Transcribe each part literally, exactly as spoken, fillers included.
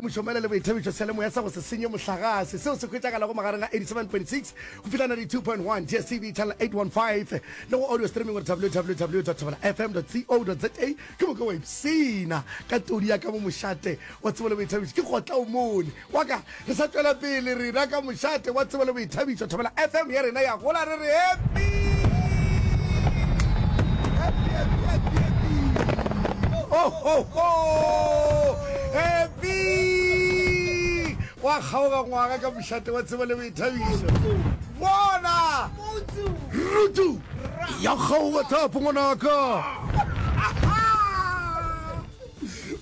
Temošomaele le boithabišo seyalemoya sa go se senye mohlagase seo se hwetšagalago magareng ga eighty seven point six go fihla ninety two point one D S T V channel eight one five le go audio streaming gore W W W dot thobela F M dot co dot za. Ke moka wa ipshina ka todi ya ka mo mošate wa tsebo le boithabišo. Ke kgotla o mone wa ka re sa tšwela pele rena ka mošate wa tsebo le boithabišo. Thobela F M ya rena ya gola, re re happy, happy, happy, happy, happy, ho ho ho, happy wa kgaoga ngwaga ka mošate wa tsebo le boithabišo. Bona rutu ya kgaoga thapo ngwanaka.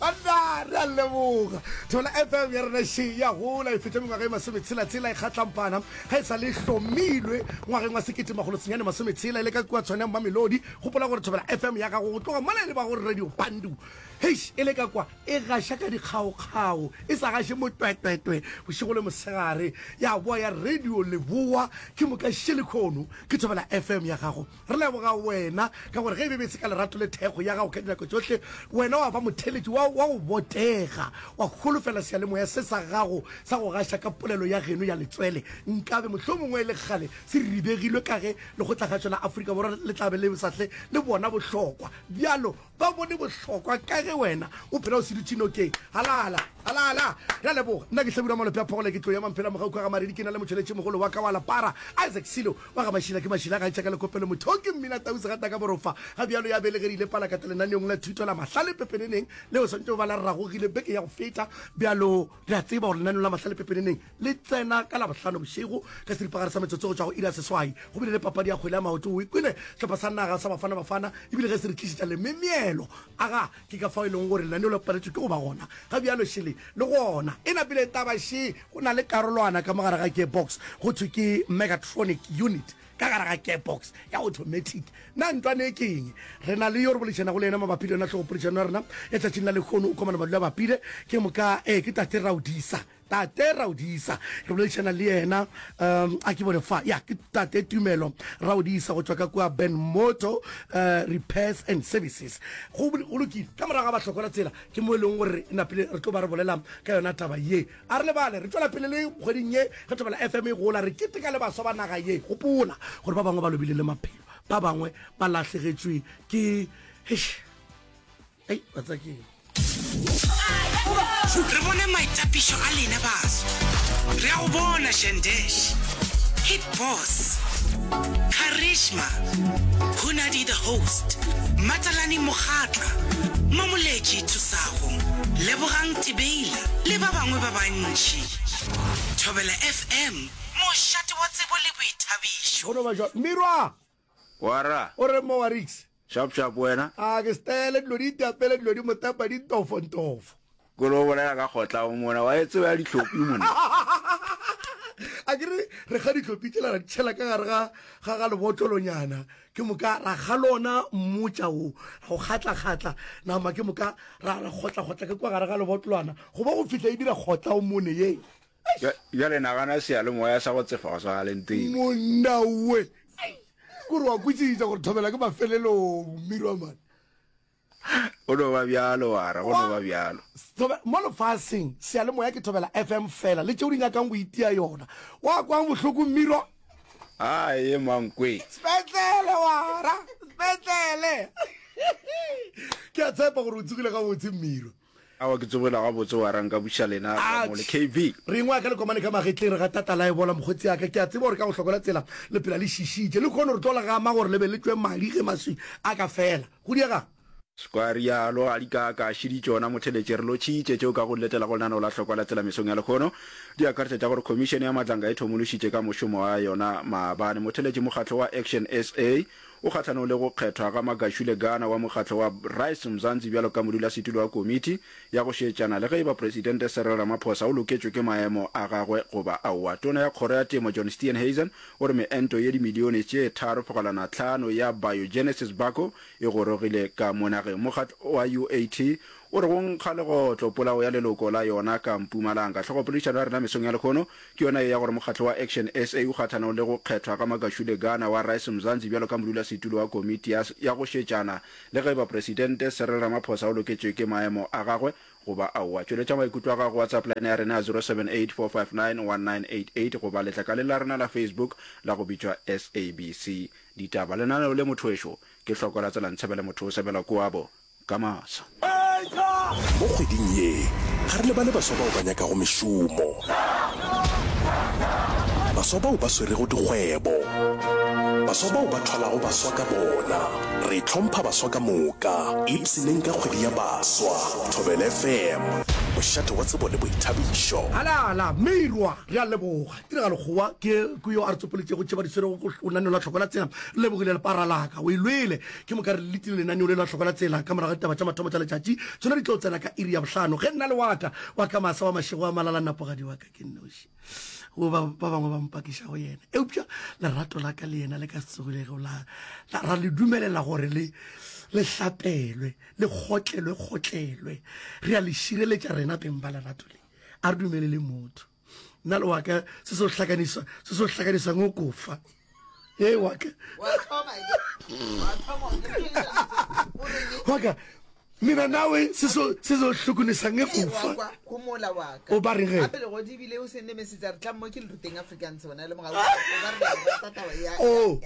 Banna, re a leboga. Thobela F M ya rena še ya gola, e fetša mengwaga e masometshela-tshela e kgatlampana ga e sa le hlomilwe ngwageng wa sekete makgolo senyane masometshela e le ka kua Tshwane ya Mamelodi. Gopola gore Thobela F M ya gago go tloga mola e le ba go Radio Bandu, heish, e le ka kwa e gaša ka dikgaokgao, e sa gaše motwetwetwe bošego le mosegare, ya boa ya Radio Leboa, ke moka še lekhono ke Thobela F M ya gago. Re leboga wena ka gore ge e be be se ka lerato le thekgo ya gago ka dinako tšohle, wena wa ba motheeletši wa wa go botega, wa holofela seyalemoya se sa gago sa go gaša ka polelo ya geno ya letswele, nkabe mohlomongwe e le kgale se ribegilwe ka ge Lekgotlakgašo la Afrika Borwa le tla be le sa hle le bona bohlokwa bjalo. Ba bone bohlokwa ka ge wena o phela o se dutše nokeng. Halala! Halala! Re a leboga. Nna ke Hlabirwa Malope a Phogole, ke tlo ya Mamphela Mogauka ga Maredi, ke na le motšweletšimogolo wa ka wa lapara, Isaac Silo wa ga Mašila, ke Mašila ga etša ka lekopelo motho ke mmina tau segata ka borofa. Ga bjalo ya belegerile palakata lenaneong la thuto la Mahlale Pepeneneng leo swantše go ba la ragogile beke ya go feta. Bjalo re a tseba gore lenaneo la Mahlale Pepeneneng le tsena ka Labohlano bošego ka seripagare sa metsotso go tšwa go iri ya seswai. Go bile le papadi ya kgwele ya maoto, o e kwele, sehlopha sa naga sa Bafana Bafana ebile ge se re tlišetša lememielo. Aga, ke ka fao e lego gore lenaneo le paletšwe ke go ba gona. Ga bjalo šele le gona e napile taba še, go na le karolwana ka mo gare ga gearbox go thwe ke mechatronic unit ka gare ga gearbox ya automatic. Na ntwane e ke eng? Re na le yo re boledišanago le yena mabapi le yona hlogopoledišano ya rena ya tšatšing la lehono. O komana madula a bapile ke moka, ee, ke Tate Raudisa. Tate Raudisa, re boledišana le yena. Um a ke bone fa, ya, ke Tate Tumelo Raudisa go tšwa ka kua Ben Motor uh, Repairs and Services. Go go lokile, ka morago ga bahlokola tsela ke mo e leng gore napile re tlo ba re bolela ka yona taba ye. A re lebale, re tšwela pele le kgweding ye ge Thobela F M e gola, re keteka le baswa ba naga ye. Gopola gore ba bangwe ba lobile le maphelo, ba bangwe ba lahlegetšwe ke, eish, ei, wa tseba ke eng. Re bone maitapišo a lena baswa. Re a go bona Shandesh, Hit Boss, Charisma, Hunadi the Host, Matalane Mokgatla, Mamoletši Thusago, Lebogang Tibeila le ba bangwe ba bantši. Thobela F M, mošate wa tsebo le boithabišo. Go no ba jwalo. Mirwa! Wara. O reng mo wa Ricks? Sharp sharp wena. A ke stele dilo di itapele dilo di motapa di ntofo ntofo. Ko lo bolela ka kgotla o mona wa e tseba ya dihlopi mona. A ke re re kga dihlopi tšela ra di tšhela ka gare ga ga ga lebotlolonyana ke moka ra kga lona mmotša wo ra go kgatla kgatla nama ke moka ra ra kgotla kgotla ka kwa gare ga lebotlolwana go ba go fihla e dira kgotla o mone ye. Bjale nagana seyalemoya sa go tsefa go swana le ntweng. Monna we! Kore wa kwešiša gore thobela ke mafelelong, Mmirwa man. Go no ba bjalo, wara, go no ba bjalo. Thobe, mo lefaseng, seyalemoya ke Thobela F M fela, le tšeo di nyakang go itia yona. Wa kwang bohloko, Mmirwa? Aye, mankwe. Sepetlele, wara, sepetlele. Ke a tshepa gore o tsogile gabotse, Mmirwa. Aowa ke tsogile gabotse wara nka buša lena Ramo le K B. Re ingwaya ka lekomane ka magetleng re ga tata la ebola mokgotsi ya ka. Ke a tseba gore ka go hlokola tsela le phela le šišitše. Le kgone re tlo le gama gore le be le tšwe madi ge maswi a ka fela. Go diegang? Swa rialo ga di ka ka šidi tšona motheletše re lotšhitše tšeo ka go letela go lenaneo la hlokwa la tsela mesong ya lehono di akaretša tša gore khomišene ya Madlanga e thomološitše ka mošomo wa yona maabane. Motheletše mokgatlo wa Action S A o kgahlanong le go kgethwa ga Magashule Gana wa mokgatlo wa Rise Mzansi bjalo ka modulasetulo wa komiti ya go šetšana le ge e ba Presidente Cyril Ramaphosa o loketšwe ke maemo a gagwe goba aowa. Tona ya Kgoro ya Temo John Steenhuisen o re meento ye dimilione tše tharo fegelwana hlano ya Biogenesis Bako e gorogile ka mo nageng. Mokgatlo wa U A T o re go nkga legotlo polao ya leloko la yona ka Mpumalanga. Hlogopoledišano ya rena mesong ya lehono ke yona ye ya gore mokgatlo wa Action S A o kgahlanong le go kgethwa ga Magashule Gana wa Rise Mzansi bjalo ka modulasetulo wa komiti ya ya go šetšana le ge eba Presidente Cyril Ramaphosa o loketšwe ke maemo a gagwe goba aowa. Tšweletša maikutlo a gago go WhatsApp line ya rena ya zero seven eight four five nine one nine eight eight goba letlakaleng la rena la Facebook la go bitšwa S A B C Ditaba. Lenaneo le motho wešo ke hloko la tsela ntshebele motho o sebela koabo ka masa. Mo kgweding ye, ga re lebale baswa bao ba nyakago mešomo, baswa bao ba swerego dikgwebo, baswa bao ba thwalago baswa ka bona. Re hlompha baswa ka moka. Ipshineng ka kgwedi ya baswa. Thobela F M, mošate wa tsebo le boithabišo. Halala, Meirwa, re a leboga. Tiragalo Kgowa ke ke yo a re tsopoletšego tše ba di swerego go lenaneo la Tlhoko la Tsela. Re lebogile lepara la ka, o e lwele. Ke moka re letile lenaneo le la Tlhoko la Tsela ka morago ga ditaba tša mathomo tša letšatši. Tšona di tlo tsena ka iri ya bohlano. Ge nna le wa ka, wa ka masa wa mašego a malala napogadi wa ka ke nnoši. Go ba ba bangwe ba mpakiša go yena. Eupša lerato la ka le yena le ka se tsogilego la, la ra le dumelela gore le le hlapelwe, le kgotlelwe kgotlelwe. Re a le šireletša rena beng ba lerato le. A re dumelele motho. Nna le wa ka se se hlakanisa se se hlakanisang o kofa. Ee wa ka. Wa ka mina nawe se so se so hlokonisa nge kufa. O ba reng ge? Oh,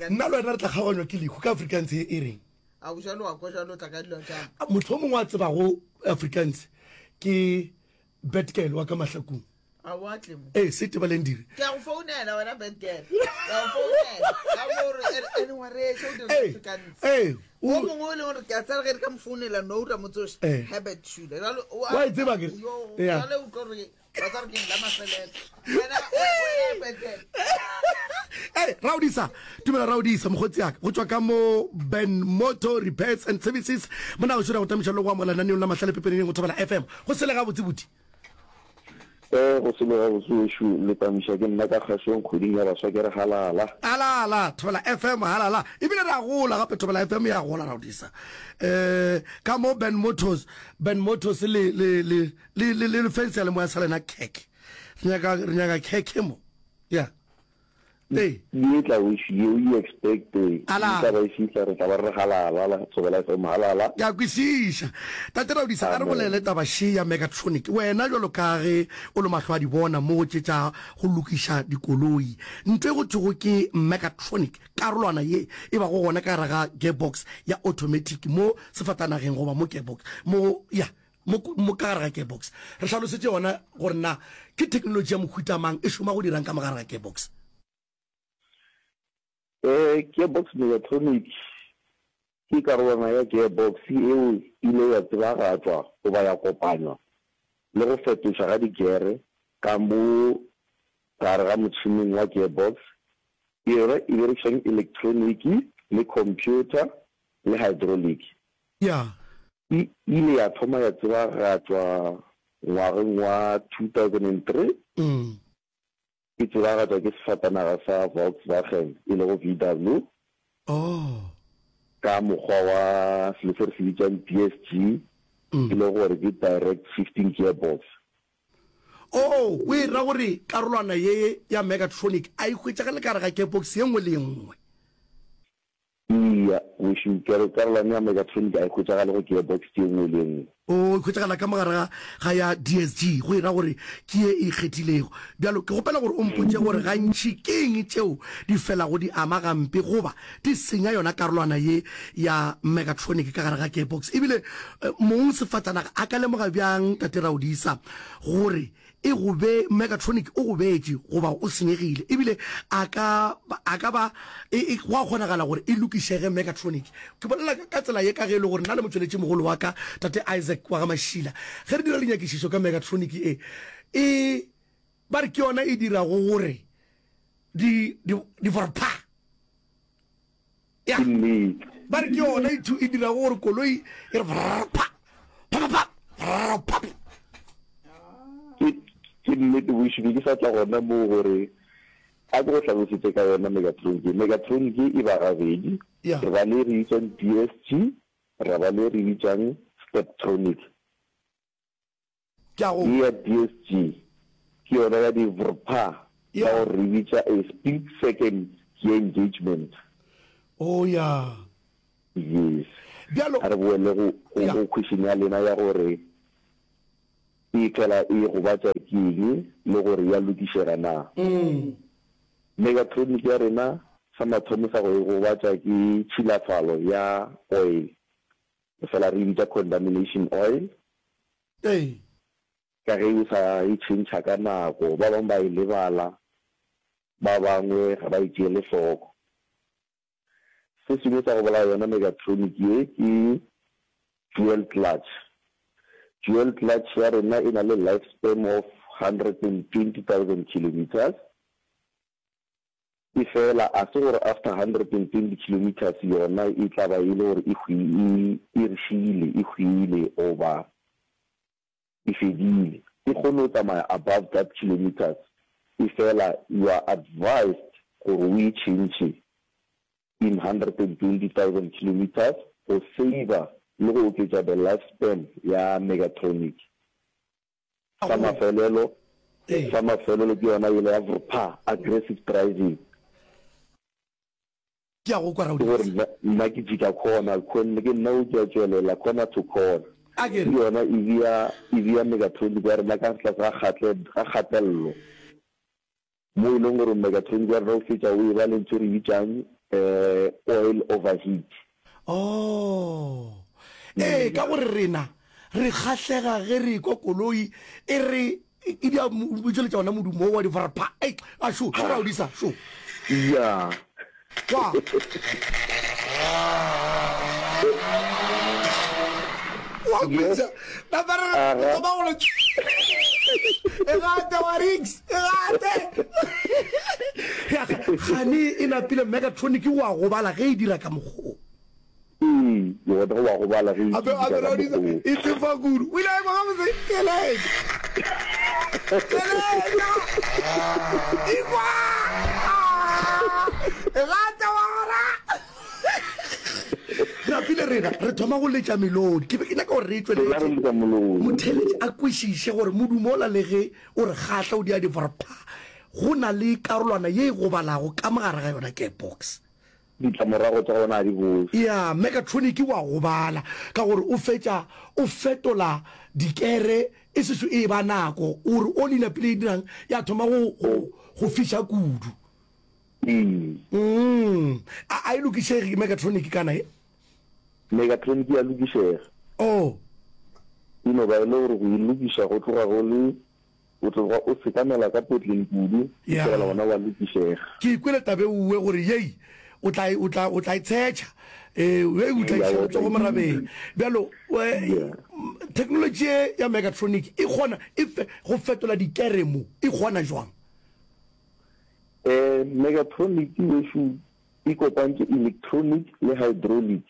nna le wena re tla kgaoganywa ke lehu ka Afrikaans e reng? Motho o mongwe a tsebago Afrikaans ke Betgirl wa ka Mahlakung. A o atle mo. Ee, se tebaleng dire. Ke a go founela wena Betgirl. Ke a go founela. Ka mo re ene wa re so dira Afrikaans. Ee. O mongwe o leng gore ke a tsara ge re ka mo founela no ra mo tsoša. Herbert Shule. Jalo o wa tseba ke. Ya. Jalo o tlo re wa tsara ke la mafelelo. Wena wena Betgirl. Hey, Raudisa, tumela Raudisa, mokgotsi yaka, go tšwa ka mo Ben Motor Repairs and Services. Mona go šora go tamiša le go amogela lenaneong la Mahlale Pepeneneng go Thobela F M. Go sele gabotse buti. Eh, go sele gabotse wešo, le tamiša ke nna ka kgašong kgweding ya baswa ke re halala. Halala, Thobela F M halala. Ebile re a gola gape Thobela F M ya gola Raudisa. Eh, ka mo Ben Motors, Ben Motors le le le le le le fence ya le moya sa lena khekhe. Re nyaka re nyaka khekhe mo. Yeah. Ee. Ye tla wešo ye o e expect e Halala. tla ba e fihla re tla ba re re halala la Thobela F M halala. Ke a kwešiša. Tate Raudisa, a re Amen. bolele taba še ya Megatronic. Wena bjalo ka ge o le mahlo a di bona mo go tše tša go lokiša dikoloi, ntho e go thwego ke Megatronic, karolwana ye e bago gona ka gare ga gearbox ya automatic mo sefatanageng goba mo gearbox, mo, ya, mo, mo ka gare ga gearbox. Re hlalosetše yona gore na ke technology ya mohuta mang, e šoma go dirang ka mo gare ga gearbox. Eh, gearbox mechatronic ke karolwana ya gearbox yeo e ile ya tsebagatšwa goba ya kopanywa le go fetošwa ga digere ka mo gare ga motšhineng wa gearbox. Yona e berekišang elektroniki le computer le hydraulic. Ya. E ile ya thoma ya tsebagatšwa ngwageng wa two thousand and three. Mm. E tsebagatšwa ke sefatanaga sa Volkswagen e lego V W. Oh. Ka mokgwa wa selo se re se bitšang D S G, Mm. e lego gore ke Direct Shifting Gearbox. Oh, o e ra gore karolwana ye ya Megatronic a e hwetšagale ka gare ga gearbox ye nngwe le ye nngwe? Eya, wešo, karolwana ya Megatronic a e hwetšagale go gearbox ye nngwe le ye nngwe. Oh, e hwetšagala ka mogare ga, ga ya D S G, go e ra gore ke ye e ikgethilego. Bjalo, ke kgopela gore o mpotše gore gantši ke eng tšeo di felago di ama gampe goba di senya yona karolwana ye ya Megatronic ka gare ga gearbox. Ebile mong sefatanaga a ka lemoga bjang, Tate Raodisa, gore e gobe Megatronic o gobetše goba o senyegile, ebile a ka, a ka ba, e, e, go a kgonagala gore e lokišege Megatronic. Ke bolela ka tsela ye ka ge e le gore nna le motšweletšimogolo wa ka, Tate Isaac wa ga Mašila, ge re dira dinyakišišo ka Megatronic e, e, ba re ke yona e dirago gore di, di, di vorpha. Ya. Ke nnete. Ba re ke yona e thu, e dirago gore koloi e re vrr, pha, pha, pha, pha, vrr, pha. Ke, ke nnete, bošego be ke sa tla gona moo gore a ke go hlalosetše ka yona Megatronic. Megatronic e ba gabedi. Ya. Re ba le e re bitsang D S G, ra ba le e re bitsang Steptronic. Ke a go. Ye ya D S G ke yona ya di V R P A Ya. ka gore re bitša a split second gear engagement. Oh ya. Yes. Bjalo. A re boele go, go, Ya. go question ya lena ya gore e fela e gobatša ke eng le gore ya lokišega na. Megatronic ya rena sa mathomo sa go e gobatša ke tšhilafalo ya oil, re fela re e bitša contamination oil. Ee. Ka ge o sa e tšhentšha ka nako, ba bangwe ba e lebala, ba bangwe ga ba e tšeele hloko. Se sengwe sa go bolaya yona megatronic ye ke dual clutch. Dual clutch ya rena e na le life span of hundred and twenty thousand kilometres. Efela a se gore after hundred and twenty kilometres yona e tla ba e le gore e e, e re šiile, e hwile goba e fedile. E kgone go tsamaya above that kilometres, efela you are advised gore o e tšhentšhe in hundred and twenty thousand kilometres go saver le go oketša the life span ya megatronic. Sa mafelelo, sa mafelelo ke yona yela ya V R P A, aggressive driving. Ke a go kwa, Ke gore Raodisa. nna, nna ke jika corner, corner, ke nna o ke a tšwelela corner to corner. A ke Ke re. yona e bea, e bea megatronic wa rena ka tlase ga kgatle, ga kgatello. Mo e leng gore megatronic wa rena o fetša o e ba le ntho e re bitšang um oil overheat. Oh. Ee, ka gore rena re kgahlega ge re ekwa koloi e re e dia e tšweletša ona modumo wo wa divarapha. Ei, a šo, šo Raodisa, šo. Ya. Kwa. Wa Yes. kweša. Napa re re Aga. thoma go le e gate wa Riggs, e gate. Ya, gane e napile Megatronic wa gobala ge e dira ka mokgwa o. Ee, gona go wa gobala ge e Ape dira ape ka Raodisa mokgwa o. e tsefa kudu. O ile a ekwa gabotse keletša. Keletša. Ikwa. Ah, e gate wa gona. Napile rena re thoma go letša melodi. Ke be ke nyaka gore re e Rena re tšweletše. letša molodi. Motheeletši a kwešiše gore modumo ola le ge o re kgahla o dia divarapha, go na le karolwana ye e gobalago ka mogare ga yona gearbox. Ditlamorago tša gona ga di bose. Ya, Megatronic wa gobala ka gore o fetša o fetola dikere e sešo e eba nako, o re oli napile e dirang ya thoma go, go, go fiša kudu. Ee. Mm. A, a e lokišege Megatronic kana e? Megatronic ya lokišega. Oh. E no ba e le gore go e lokiša go tloga go le, o tloga o sekamela ka potleng kudu, Ya. fela gona wa lokišega. Ke ikwele tabe uwe gore yei o tla e, o tla, o tla e tshetšha. Eh, yei o tla Ya, iša o tla letsogo e morabeng. Bjalo, we, Yeah. technology ye ya Megatronic e kgona e fe, go fetola dikere mo, e kgona jwang? Eh, Megatronic wešo e kopantše electronic le hydraulic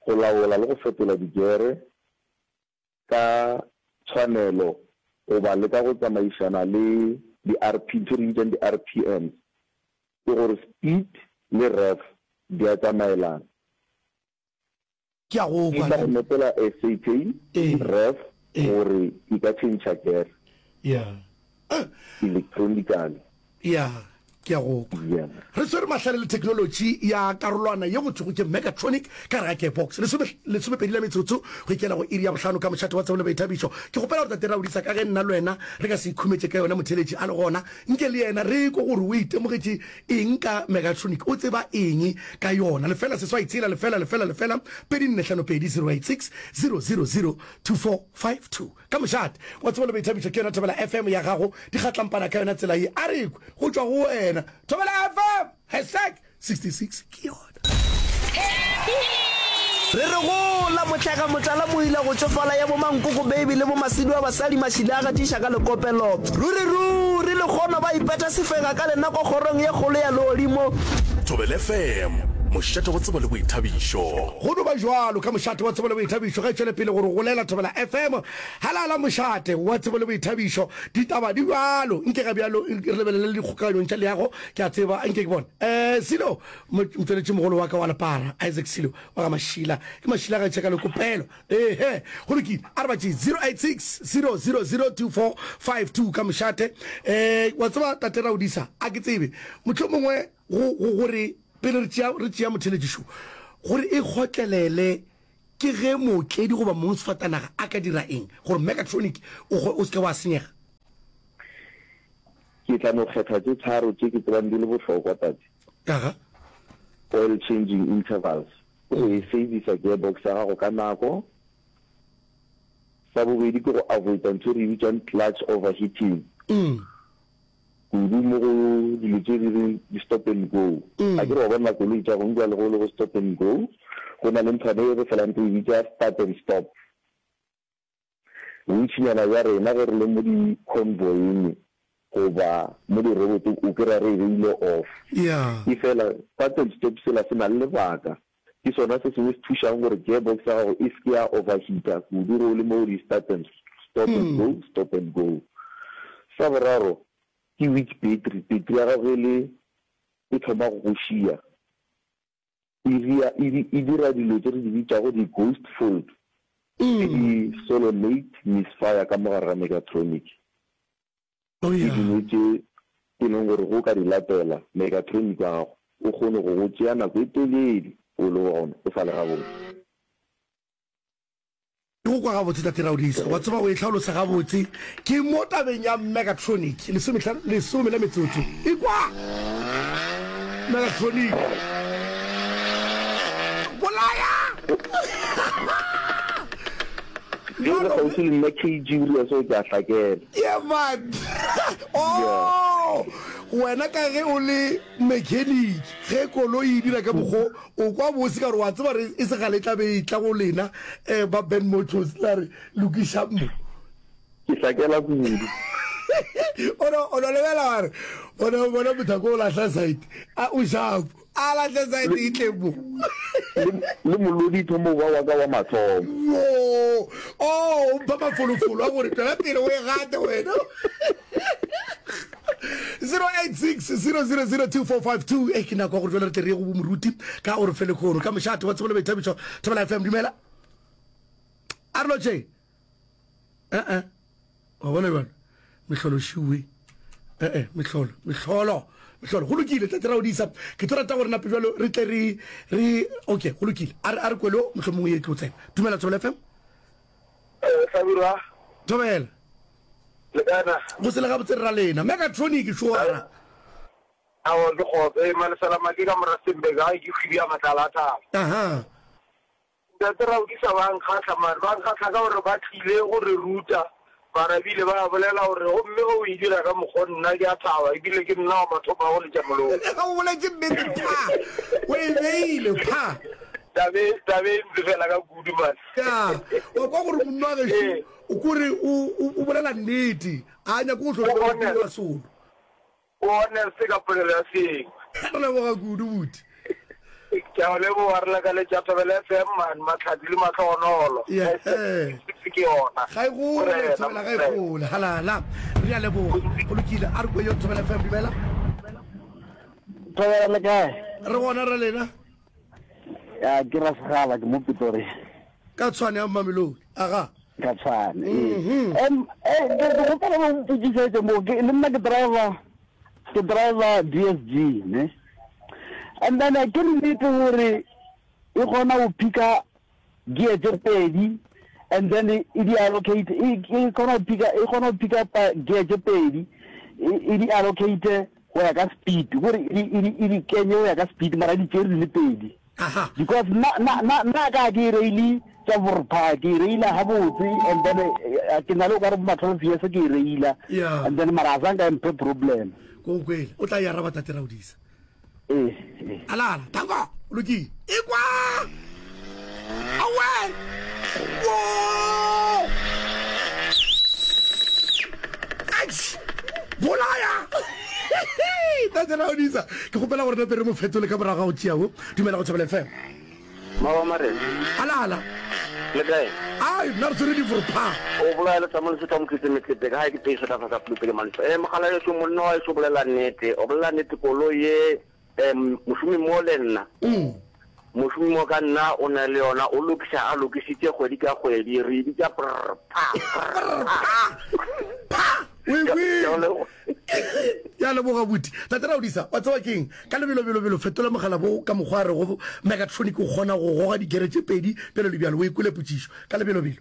go laola le go fetola dikere ka tshwanelo goba le ka go tsamaišana le di R P, ntho e re bitsang di R P Ms, ke gore speed le rev di a tsamaelana. Ke a go E kwa, tla go Ntate. nepela a certain Ee. rev Ee. gore e ka change gear. Yeah. Eh. Electronically. Yeah, ke a go kwa. Yeah. Re swere mahlale le technology ya karolwana ye go thwego ke Megatronic ka gare ga gearbox. Lesome, lesomepedi la metsotso go ikela go iri ya bohlano ka mošate wa tsebo le boithabišo. Ke kgopela gore Tate Raodisa ka ge nna le wena re ka se ikhumetše ka yona motheeletši a le gona, nke le yena re kwe gore o itemogetše eng ka Megatronic, o tseba eng ka yona. Lefela seswai tshela lefela lefela lefela pedi nne hlano pedi zero eight six zero zero zero two four five two. Ka mošate wa tsebo le boithabišo ke yona Thobela F M ya gago, di kgatlampana ka yona tsela ye. A re kwe go tšwa go wena. Thobela F M hashtag sixty-six ke yona. Re re gola motlhaga motlala moila go tšofala ya bomankoko baby le bomasedi wa basadi mašile a gatiša ka lekopelo. Ruri ruri le kgono ba ipeta sefega ka lenako kgorong ye kgolo ya legodimo. Thobela F M Mošate wa tsebo le boithabišo. Go no ba bjalo ka Mošate wa Tsebo le Boithabišo ge e tšwele pele go re golela Thobela F M. Halala Mošate wa Tsebo le Boithabišo. Ditaba di bjalo. Nke ga bjalo re lebelele le dikgokaganyong tša leago. Ke a tseba. Nke ke bone. Eh, Silo, motšweletšimogolo wa ka wa lepara, Isaac Silo, wa ga Mašila. Ke Mašila ga tšheka le kopelo. Ehe, go lokile. A re ba tšee zero eight six zero zero zero two four five two ka mošate. Eh, wa tseba Tate Raodisa, a ke tsebe. Mohlomongwe go, go, gore pele re tšea, re tšea motheeletši šo, gore e kgotlelele ke ge mootledi goba mongsefatanaga a ka dira eng gore mechatronic o, o se ke wa senyega? Ke tla no kgetha tše tharo tše ke tsebang di le bohlokwa, Tate. Aga. Oil changing intervals, ke go e servisa gearbox ya gago ka nako. Sa bobedi ke go avoida ntho e re e bitšang clutch overheating, kudu mo go dilo tše di reng di stop and go. Akere wa bona koloi tša gong bjale go le go stop and go, go na le nthwana e re felang re e bitša start and stop. Bontšinyana bja rena ge re le mo di-convoyeng goba mo dirobotong o kry-a re e beile off. Yeah. Efela start and stop sela se na le lebaka. Ke sona se sengwe se thušang gore gearbox ya gago e se ke ya overheater kudu ge o le mo go di-start and stop and go, stop and go. Sa boraro ke weak battery, battery ya gago ge e le e thoma go go šia, e ria, e, e dira dilo tše re di bitšago di-ghost fault le di-solenoid misfire ka mo gare ga mechatronic. Oh Ke yeah. dingwe tše e leng gore ge o ka di latela, mechatronic wa gago o kgone go go tšea nako e telele o le gona o sa le gabotse. Ke go kwa gabotse, Tate Raodisa. Wa tseba o e hlalosa gabotse. Ke mo tabeng ya mechatronic, lesomehlano, lesome la metsotso. Ekwa! Mechatronic. Bolaya! Ge o le kgauswi le nna K G o dira seo ke a hlakela. Yeah man. Yeah. Oh! Wena ka ge o le mechanic, ge koloi e dira ka mokgo o kwa bose ka gore wa tseba re e se gale e tla be e tla go lena eh, ba Ben Motors la re lokišang mo. Ke hlakela kudu. O no o no lebela wa re bona bona mothako o lahla site a o sharp a lahla site e tle mo. Le le molodi thomo ba wa ka wa mathomo. Yo oh o mpha mafolofolo a gore tšwela pele o e gate wena. zero eight six zero zero zero two four five two. E ke nako ya gore jale re tle re ye go bomoruti ka o re fe lekgono ka mošate wa tsebo le boithabišo Thobela F M. Dumela, a re lotšheng. Ee, wa bona bjalo mehlolo šiwe. Ee, mehlolo, mehlolo, mehlolo. Go lokile, Tate Raodisa, ke tlo rata gore nape jalo re tle re re okay, go lokile, a re a re kwelo mohlomongwe ye tlo tsena. Dumela, Thobela F M. Hlabirwa. Thobela. Le kae na? Go se le gabotse rra lena. Megatronic šoara. Aowa ke kgotso. Ee Malesela Make ka mo Rustenburg gae ke kgwidi ya matlala a thaba. Aha. Ntate Raodisa ba nkgahla man, ba nkgahla ka gore ba tlile go re ruta mara ebile ba bolela gore gomme ge o e dira ka mokgo nna ke a thaba ebile ke nna wa mathomo a go letša molomo. O boletše nnete pha, o e beile pha. Tabe tabe e ntsefela ka kudu man. Ya, wa kwa gore monna wa gešo o kore o o bolela nnete, a nyake go hlola o dira solo. O honest ka polelo ya seeng. Re leboga kudu buti. Ke a go leboga, re lakaletša Thobela F M man, mahlatse le mahlogonolo. Yeah, eh. Ke yona. Ga e gole, Morena, Thobela ga e Morena. gole. Halala. Re a leboga. Go lokile, a re kwe yo Thobela F M, dumela. Thobela le kae? Re gona ra lena. Ya ke ra segala ke mo Pretoria. Ka Tshwane ya Mamelodi. Aga. Ka Tshwane. Ee. Em eh ke ke gopela go mpotsišetše mo ke le nna ke driver ke driver D S G ne. And then ke nnete gore e kgona go picka gear tše pedi and then e di allocate e e kgona go picka e kgona go pick up gear tše pedi e di allocate go ya ka speed gore e di e di kenye go ya ka speed mara di tšere di le pedi. Aha. Because nna nna nna nna ka ke e reile tša borpha ke e reila gabotse and then eh, ke na le o ka re ma twelve years ke e reila Yeah. and then mara a zanka e mphe problem. Ko kwele. O tla e araba Tate Raodisa. Ee, ee. Alala, tanko, o lokile. Ekwa! Awe! Wo! Atš! Bolaya! Tate Raodisa, ke kgopela gore nape re mo fetole ka morago ga go tšea wo. Dumela go Thobela F M. Maba Marena. Ala ala. Le kae? Ai, nna re tshwere divorpha. O bolaya le Samuel Setla Mokete Metlete ka gae ke teiso ka fa Pulupe ke Mantlo. Eh mogala yeso monna wa eso bolela nnete. O bolela nnete koloi ye eh mošomi mo le nna. Mm. Mošomi mo ka nna o na le yona o lokiša a lokisitše kgwedi ka kgwedi re e bitša prr pha prr pha. Pha. O e kwele. Ya leboga buti. Tate Raodisa, wa tseba keng? Ka lebelobelobelo fetola mogala bo ka mokgwa a rego Megatronic o kgona go goga digere tše pedi bjalo le bjalo. O e kwele potšišo? Ka lebelobelo.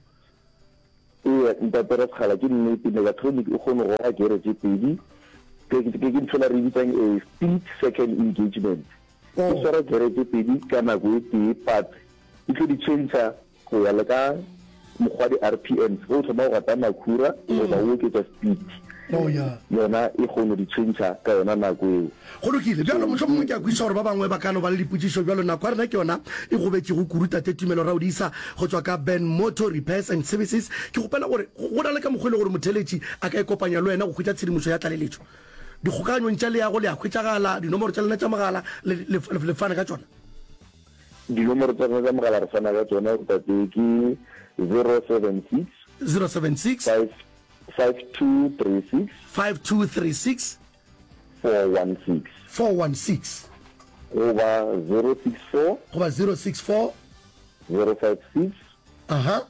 Eya, Ntate Rasekgala, ke nnete, Megatronic o kgona go goga gere tše pedi. Ke, ke, ke ntho ela re e bitsang a split second engagement. E swara gere tše pedi ka nako e tee but e tlo di tšhentšha go ya le ka mokgwa di R P Ms. Ge o thoma go gata makhura goba o oketša speed, yona e kgono di tšhentšha ka yona nako eo. Go lokile. Bjalo, mohlomongwe ke a kwešiša gore ba bangwe ba ka no ba le dipotšišo bjalo. Nako ya rena ke yona e gobetšego kudu, Tate Tumelo Raodisa go tšwa ka Ben Motor Repairs and Services. Ke kgopela gore go na le ka mokgwa e le gore motheeletši a ka ikopanya le wena go hwetša tshedimošo ya tlaleletšo. Dikgokaganyong tša leago le a hwetšagala, dinomoro tša lena tša mogala le, le, le fana ka tšona? Dinomoro tša rena tša mogala re fana ka tšona, tate, ke zero seven six. Zero seven six. Five, five two three six. Five two three six. Four one six. Four one six. Goba zero six four. Goba zero six four. Zero five six. Aha.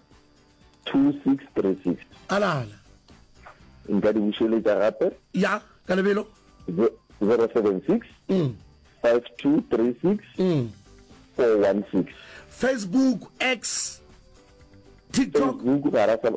Two six three six. Alala. Nka di bušeletša gape? Ya, ka lebelo. Zero seven six. Mm. Five two three six. Mm. Four one six. Facebook, X, TikTok. Facebook ga ra sa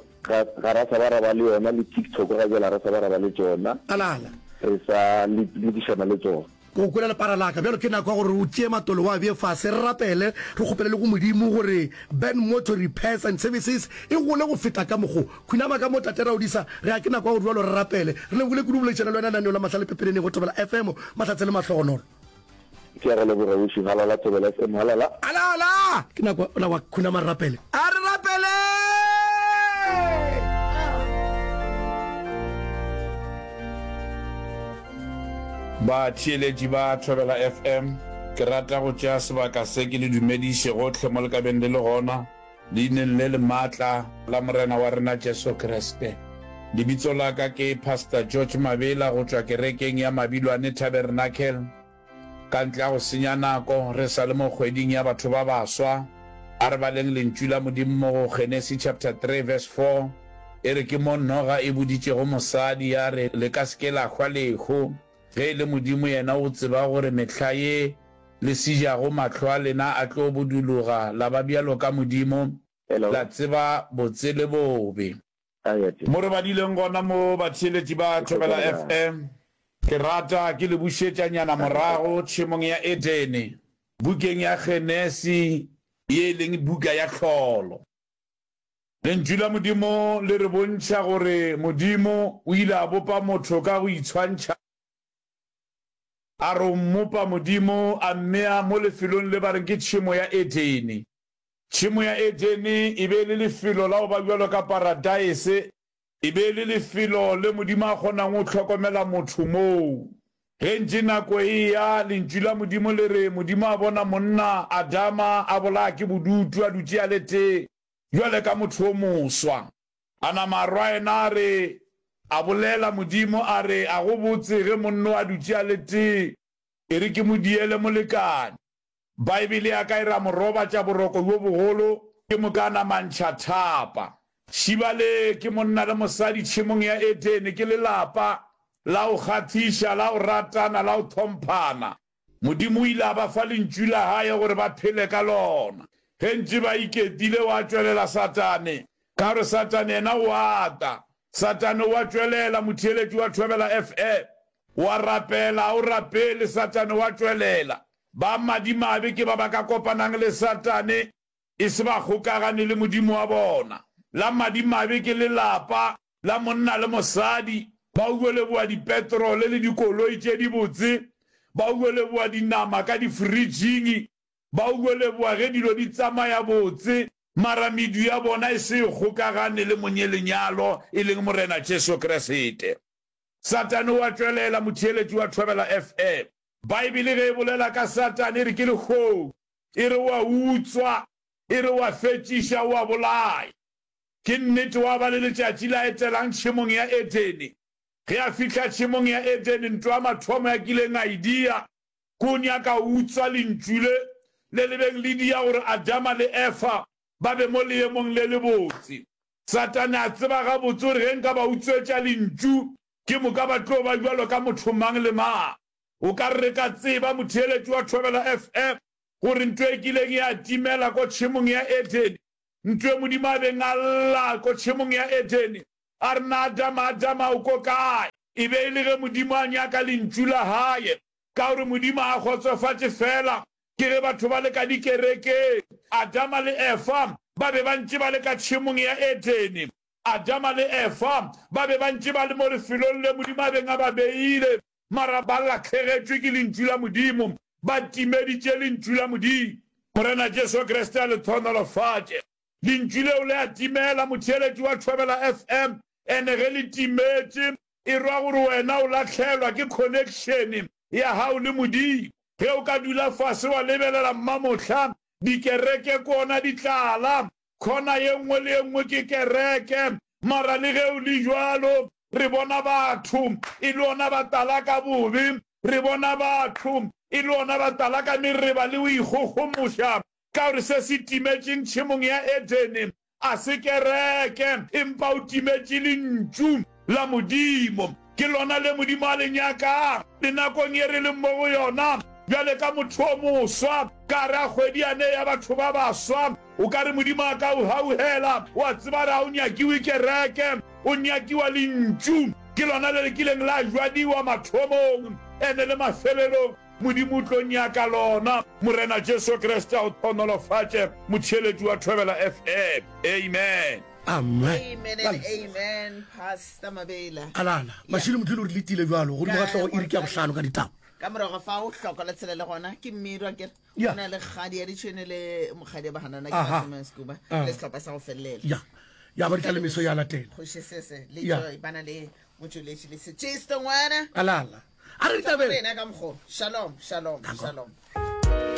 ga ra sa ba ra ba le yona le TikTok ga jwale ga ra sa ba ra ba le tšona. Alala. Re sa lokišana le tšona. Ke go kwele lepara la ka. Bjalo ke nako ya gore o tšee matolo o a bee fase, re rapele, re kgopele le go Modimo gore Ben Motor Repairs and Services e gole go feta ka mokgo. Khunama ka mo, Tate Raodisa, re a ke nako ya gore bjalo re rapele. Re lebogile kudu go boledišana le wena lenaneo la Mahlale Pepeneneng go Thobela F M. Mahlatse le mahlogonolo. Ke a go leboga, Wishi. Halala Thobela F M, halala. Halala! Ke nako ya wa khunama re rapele. A re rapeleng! Batheeletši ba Thobela F M, ke rata go tšea sebaka se ke le dumediše gohle mo le ka beng le le gona, Leineng le le maatla la Morena wa rena Jesu Kriste. Lebitso la ka ke Pastor George Mabela go tšwa kerekeng ya Mabilwane Tabernacle. Ka ntle ga go senya nako, re sa le mo kgweding ya batho ba baswa, a re baleng Lentšu la Modimo mo go Genesi chapter three verse four, e re ke mo noga e boditšego mosadi ya re, Le ka se ke la hwa lehu, ge e le Modimo yena o tseba gore mehla ye le se jago mahlo a lena a tlo buduloga la ba bjalo ka Modimo, Hello. la tseba botse le bobe. Ae, ate. Mo re badileng gona mo, batheeletši ba Ke hwetša Thobela lebaka. F M, ke rata ke le bušetšanyana morago tšhemong ya Edene, bukeng ya Genesi ye e leng buka ya tlholo. Lentšu la Modimo le re bontšha gore Modimo o ile a bopa motho ka go itshwantšha. A re o mmopa Modimo, a mmea mo lefelong le ba reng ke tšhemo ya Edene. Tšhemo ya Edene e be e le lefelo la go ba bjalo ka paradeise, e be e le lefelo le Modimo a kgonang go hlokomela motho moo. Ge ntše nako e eya, Lentšu la Modimo le re, Modimo a bona monna, Adama, a bolaya ke bodutu, a dutše a le tee, bjale ka motho o moswa. A nama a rwa yena a re, A bolela Modimo a re, A go botse ge monno a dutše a le tee, e re ke mo diele molekane. Baebele ya ka e re a mo robatša boroko bjo bogolo, ke moka a nama a ntšha thapa. Šiba le ke monna le mosadi tšhemong ya Edene, ke lelapa la go kgahliša, la go ratana, la go hlomphana. Modimo o ile a ba fa Lentšu la Hae gore ba phele ka lona. Ge ntše ba iketile, wa tšwelela Satane. Ka gore Satane yena o a ata. Satane o a tšwelela, motheeletši wa Thobela F M. O a rapela, a o rapele, Satane o a tšwelela. Ba madimabe ke ba ba ka kopanang le Satane e se ba kgokagane le Modimo wa bona. La madimabe ke lelapa la monna le mosadi, ba yo leboga dipetrole le dikoloi tše dibotse, ba yo leboga dinama ka difridging, ba yo leboga ge dilo di tsamaya botse, mara medu ya bona e se e kgokagane le Monyelenyalo, e leng Morena Jesu Kriste. Satane o a tšwelela, motheeletši wa Thobela FM. Baebele ge e bolela ka Satane e re ke lehodu, e re o a utswa, e re o a fetšiša, o a bolaya. Ke nnete wa ba le letšatši la etelang tšhemong ya Edene. Ge a fihla tšhemong ya Edene, ntwa ya mathomo ya kileng a e dia, ke o nyaka go utswa lentšu le, le le beng le dia gore Adama le Efa ba be mo leemong le lebotse. Satane a tseba gabotse gore ge nka ba utswetša lentšu, ke moka ba tlo ba bjalo ka motho mang le mang. O ka re re ka tseba, motheeletši wa Thobela FM, gore ntwa e kileng ya timela ko tšhemong ya Edene, ntwa e Modimo a beng a lla ko tšhemong ya Edene, a re, Na Adama, Adama, o ko kae? E be e le ge Modimo a nyaka Lentšu la Hae, ka gore Modimo a kgotsofatše feela ke ge batho ba le ka dikerekeng. Adama le Efa ba be ba ntše ba le ka tšhemong ya Edene. Adama le Efa ba be ba ntše ba le mo lefelong le Modimo a beng a ba beile, mara ba lahlegetšwe ke Lentšu la Modimo, ba timeditše Lentšu la Modimo. Morena Jesu Kriste a le hlohonolofatše. Lentšu leo le a timela, motheeletši wa Thobela FM, ene ge le timetše, e ra gore wena o lahlelwa ke connection ya gago le Modimo. Ge o ka dula fase wa lebelela mmamohla, dikereke ke ona di tlala, khona ye nngwe le ye nngwe ke kereke, mara le ge o le bjalo, re bona batho e le ona ba tala ka bobe, re bona batho e le ona ba tala ka mereba le go ikgogomoša, Ka gore se se timetšeng tšhemong ya Edene a se kereke, empa o timetše Lentšu la Modimo. Ke lona le Modimo a le nyakang. Le nakong ye re leng mo go yona bjale, ka motho o moswa, ka gare ga kgwedi yane ya batho ba baswa, o ka re Modimo a ka o gaugela. O a tseba re ga o nyakiwe kereke, o nyakiwa Lentšu. Ke lona le le kileng la jwadiwa mathomong ene le mafelelong. Modimo o tlo nyaka lona. Morena Jesu Kriste a o hlohonolofatše, motheeletši wa Thobela FM. Amen. Amen. Amen and amen, Pastor Mabela. Alala, Mashilo Motlholo o re letile bjalo godimo ga hlogo iri ke ya bohlano ka ditaba. Ka morago ga fao hloko la tshela le gona ke mmiro akere Ya. go na le kgadi ya ditšhwene le mokgadi ya bahanana ke Aha. Basome Scuba Ah. le sehlopha sa go felelela. Ya. Ya ba di tla le meso ya latela. Kgoši Sese le Ya. Joy ba na le motšweletši le Setšisto ngwana. Alala. A re ditabeng. Rena ka mokgo. Shalom, shalom, shalom.